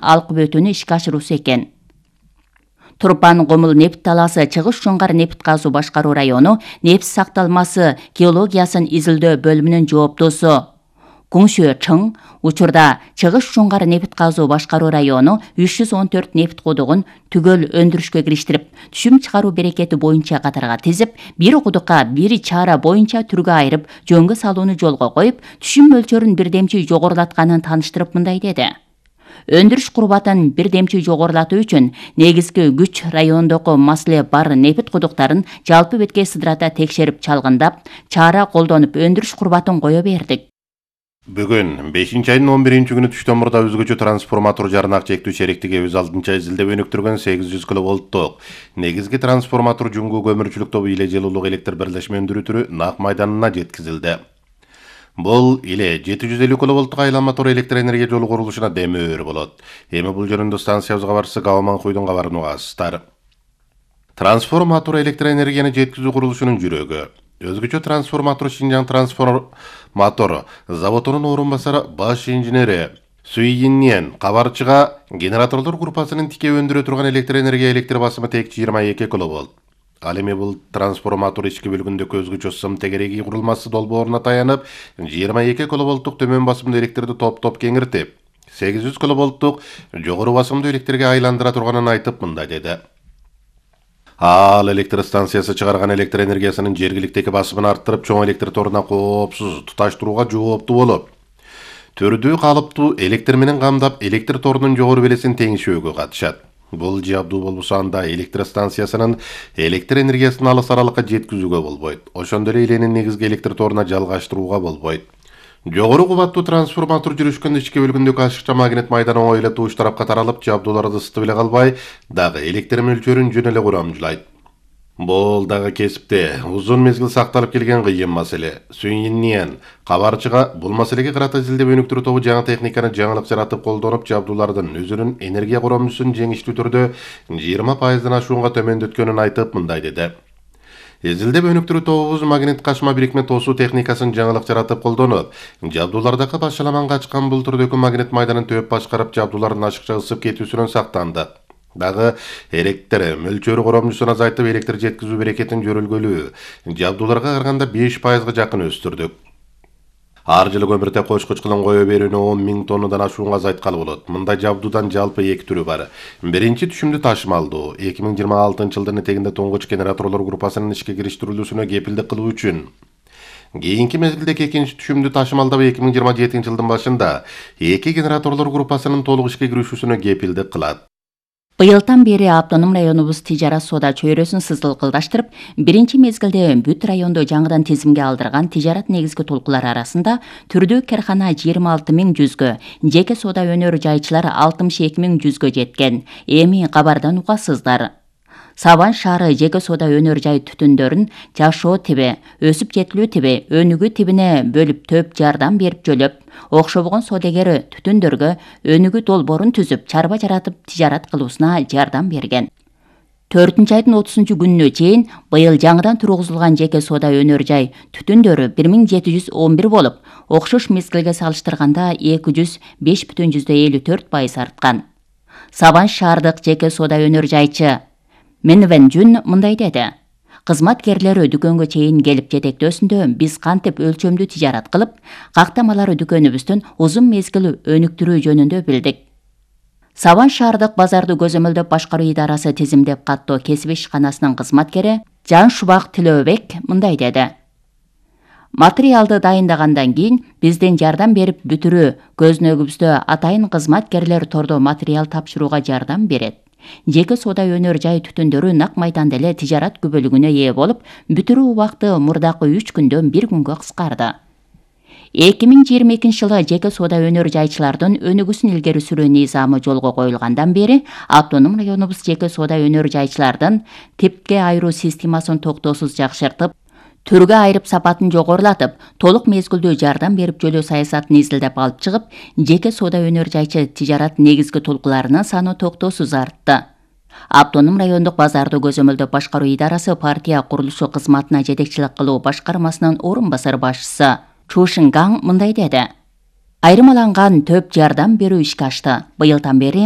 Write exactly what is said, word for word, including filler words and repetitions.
алкып өтүүнү ишке ашыруусу экен. Турпан Комул нефт талаасы Чыгыш Жоңгар нефт газуу башкаруу району нефт сакталмасы геологиясын изилдөө бөлүмүнүн жооптосу Куңшө Чың учурда Чыгыш Жоңгар нефт газуу башкаруу району үч жүз он төрт нефт кудугун түгөл өндүрүшкө кириштирип, түшүм чыгаруу берекети боюнча катарга тизип, бир кудукка бир чара боюнча түргө айырып, жөнгө салууну жолго коюп, түшүм мөлчөрүн бирдемчи жогорулатканын тааныштырып мындай деди. Өндүрүш курбатын бирдемчи жогорулатуу үчүн негизги күч райондогу маселе бар нефт кудуктарын жалпы бетке сыдырата текшерип чалгындап, чара колдонуп өндүрүш курбатын кое бердик. Бүгүн бешинчи айдын он биринчи күнү түштөн мурда өзгөчө трансформатор жарнак чектүү шериктиги өз алдынча изилдеп өнүктүргөн сегиз жүз киловолттук негизги трансформатор жуңгу көмүрчүлүк тобу иле жылуулук электр бирлешме өндүрүү түрү Нак майданына жеткизилди. Бул иле жети жүз элүү киловолттук айланма тор электр энергия жолу курулушуна демөөр болот. Эми бул жөнүндө станциябызга барысы Кабаман Куйдун кабарын угасыздар. Трансформатор электр энергияны жеткизүү курулушунун жүрөгү. Өзгөчө трансформатор Шинжаң трансформатор заводунун орун басары баш инженери Суйиннен кабарчыга генераторлор группасынын тике өндүрө турган электр энергия электр басымы тек жыйырма эки киловолт. Ал эми бул трансформатор ички бөлүгүндөгү өзгөчө сым тегереги курулмасы долбооруна таянып, жыйырма эки киловолттук төмөн басымдуу электрди топ-топ кеңиртип, сегиз жүз киловолттук жогору басымдуу электрге айландыра турганын айтып мындай деди. Ал электр станциясы чыгарган электр энергиясынын жергиликтеги басымын арттырып, чоң электр торуна коопсуз туташтырууга жооптуу болуп, түрдүү калыптуу электр менен камдап, электр торунун жогору белесин теңишөөгө катышат. Бул жабдуу болбосо анда электр станциясынын электр энергиясын алыс аралыкка жеткизүүгө болбойт. Ошондой эле иленин негизги электр торуна жалгаштырууга болбойт. Жогору кубаттуу трансформатор жүрүшкөндө ички бөлүгүндөгү ашыкча магнит майдан оңой эле туш тарапка таралып, жабдууларды ысытып эле калбай, дагы электр мөлчөрүн жөн эле курамжылайт. Бул дагы кесипте узун мезгил сакталып келген кыйын маселе. Суйиннен кабарчыга бул маселеге карата изилдеп өнүктүрүү тобу жаңы техниканы жаңылык жаратып колдонуп, жабдуулардын өзүнүн энергия коромчусун жеңиштүү түрдө жыйырма пайыздан ашуунга төмөндөткөнүн айтып мындай деди. Изилдеп өнүктүрүү тобубуз магнит кашма бирикме тосуу техникасын жаңылык жаратып колдонуп, жабдуулардагы башаламанга ачкан бул түрдөгү магнит майданын төп башкарып, жабдуулардын ашыкча ысып кетүүсүнөн сактанды. Дагы электр мөлчөрү коромчусун азайтып, электр жеткизүү берекетин жөрөлгөлүү жабдууларга караганда беш пайызга жакын өстүрдүк. Ар жылы көмүртек кочкуч кылым кое берүүнү он миң тоннадан ашуунга азайткалы болот. Мындай жабдуудан жалпы эки түрү бар. Биринчи түшүмдүү ташымалдуу эки миң жыйырма алтынчы жылдын этегинде туңгуч генераторлор группасынын ишке кириштирилүүсүнө кепилдик кылуу үчүн. Кийинки мезгилдеги экинчи түшүмдүү ташымалдоо эки миң жыйырма жетинчи жылдын башында эки генераторлор группасынын толук ишке киришүүсүнө кепилдик кылат. Быйылдан бери автоном районубуз тижарат соода чөйрөсүн сызылкылдаштырып, биринчи мезгилде бүт райондо жаңыдан тизимге алдырган тижарат негизги толкулар арасында түрдүү кархана жыйырма алты миң жүзгө, жеке соода өнөр жайчылар алтымыш эки миң жүзгө жеткен. Эми кабардан угасыздар. Сабан шаары жеке соода өнөр жай түтүндөрүн жашоо тиби, өсүп жетилүү тиби, өнүгүү тибине бөлүп төп жардам берип жөлөп, окшобогон соодагер түтүндөргө өнүгүү долбоорун түзүп, чарба жаратып тижарат кылуусуна жардам берген. төртүнчү айдын отузунчу күнүнө чейин быйыл жаңыдан тургузулган жеке соода өнөр жай түтүндөрү бир миң жети жүз он бир болуп, окшош мезгилге салыштырганда эки жүз беш бүтүн элүү төрт пайыз арткан. Сабан шаардык жеке соода өнөр жайчы Менвен Жүн мындай деди. Кызматкерлери дүкөнгө чейин келип жетектөөсүндө биз кантип өлчөмдүү тижарат кылып, кактамалары дүкөнүбүздүн узун мезгил өнүктүрүү жөнүндө билдик. Сабан шаардык базарды көзөмөлдөп башкаруу идарасы тизимдеп каттоо кесип ишканасынын кызматкери Жан Шубак Тилөөбек мындай деди. Материалды дайындагандан кийин биздин жардам берип бүтүрүү көзүнөгүбүздө атайын кызматкерлер тордо материал тапшырууга жардам берет. Жеке соода өнөр жай түтүндөрү Нак майданда эле тижарат күбөлүгүнө ээ болуп, бүтүрүү убакыты мурдакы үч күндөн бир күнгө кыскарды. эки миң жыйырма экинчи жылы жеке соода өнөр жайчылардын өнүгүүсүн илгери сүрүү низамы жолго коюлгандан бери автоном районубуз жеке соода өнөр жайчылардын типке айыруу системасын токтоосуз жакшыртып, түргө айырып сапатын жогорулатып, толук мезгилдүү жардам берип жөлөө саясатын изилдеп алып чыгып, жеке соода өнөр жайчы тижарат негизги толкуларынын саны токтоосуз артты. Автоном райондук базарды көзөмөлдөп башкаруу идарасы партия курулушу кызматына жетекчилик кылуу башкармасынын орун басар башчысы Чушин Гаң мындай деди. Айырмаланган төп жардам берүү ишке ашты. Быйылдан бери